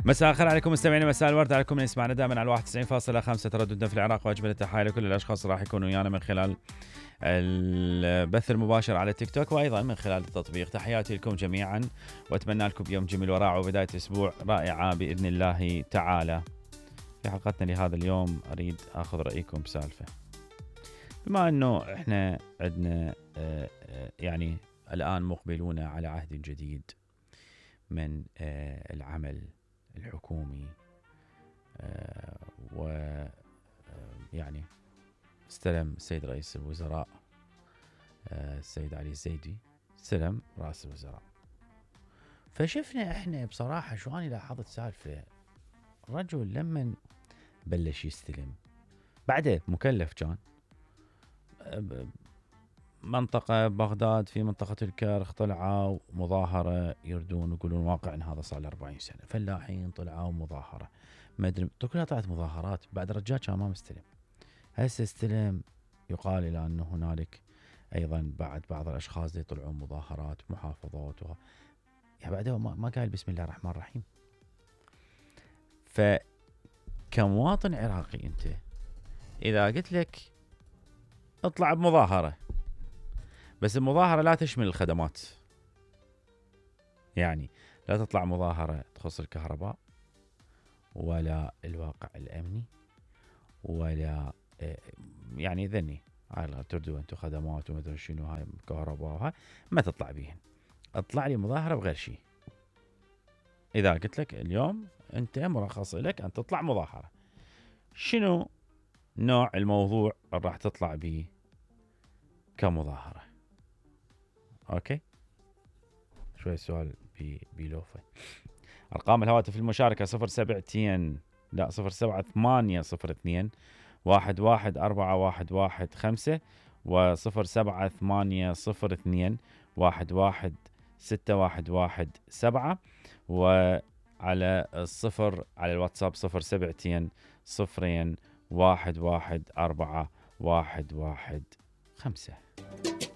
مساء الخير عليكم مستمعينا، مساء الورد عليكم من يسمعنا دائما على 91.5 ترددنا في العراق، واجمل التحايا لكل الاشخاص راح يكونوا ويانا من خلال البث المباشر على تيك توك وايضا من خلال التطبيق. تحياتي لكم جميعا واتمنى لكم يوم جميل ورائع وبدايه اسبوع رائعه باذن الله تعالى. في حلقتنا لهذا اليوم اريد اخذ رايكم بسالفه، بما انه احنا عندنا يعني الان مقبلون على عهد جديد من العمل الحكومي، ويعني استلم السيد رئيس الوزراء السيد علي الزيدي استلم رئيس الوزراء. فشفنا احنا بصراحة شو أنا لاحظت سالفة، رجل لما بلش يستلم بعده مكلف كان منطقة بغداد، في منطقة الكرخ طلعوا مظاهرة يردون يقولون واقع ان هذا صار له 40 سنة، فلاحين طلعوا مظاهرة ما ادري كلها طلعت مظاهرات. بعد رجال كان ما مستلم، هسه استلم. يقال الى انه هنالك ايضا بعض الاشخاص اللي يطلعون مظاهرات محافظات يعني بعده ما قال بسم الله الرحمن الرحيم. فكمواطن عراقي انت اذا قلت لك اطلع بمظاهرة، بس المظاهرة لا تشمل الخدمات، يعني لا تطلع مظاهرة تخص الكهرباء ولا الواقع الأمني ولا يعني ذني على تردوا أنتم خدمات وما أدري شنو هاي كهرباء وهاي ما تطلع بيهن. اطلع لي مظاهرة بغير شيء. إذا قلت لك اليوم أنت مرخص لك أن تطلع مظاهرة، شنو نوع الموضوع اللي راح تطلع به كمظاهرة؟ اوكي، شوي سؤال بلوفة. ارقام الهواتف المشاركة 072 لا 07802 114115 و 07802 116117 وعلى الصفر على الواتساب 072 0 114115.